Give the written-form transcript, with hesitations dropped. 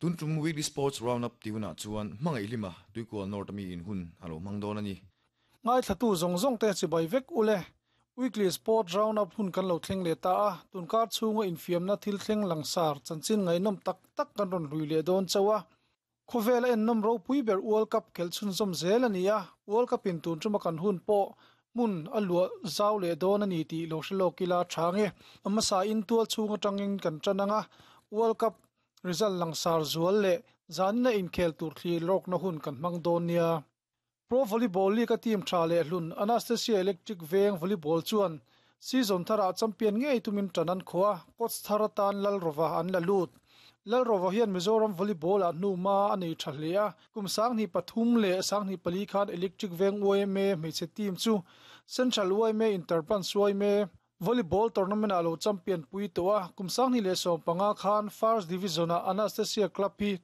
Tun tum Weekly Sports Roundup tih hunah chuan hmangaih hlima Tuikual North ami in hun a lo hmang dawn a ni. Ngaithlatu zawng zawng te chibai vek ule. Weekly Sport Roundup hun kan lo thleng leh ta a, tunkar chhunga infiamna thil thleng langsar chanchin ngaihnawm tak tak kan rawn hlui leh dawn chauh a. Khawvela ennawm ropui ber World Cup khelh chhunzawm zel a ni a, World Cup in tun tuma kan hun pawh hmun a luah zau leh dawn a ni tih lo hre lawk ila tha nge. A hmasa in tual chhung atangin kan tan ang a, World Cup result langsar zual leh zanina inkhel tur thlir lawkna hun kan hmang dawn nia. Pro Volleyball League-a team tha leh hlun Anastasia Electric Veng Volleyball chuan season tharah champion ngei tumin tan an khaw a, coach thar atan Lalrova an la lut. Lalrova hian Mizoram Volleyball-ah hnuhma a nei tha hle a, kum 2003 leh 2004 khan Electric Veng yma hmeichhe team chu Central yma Interbranch yma Volleyball tournament-ah lo champion pui tawh a, kum 2015 khan First Division-ah Anastasia Club hi.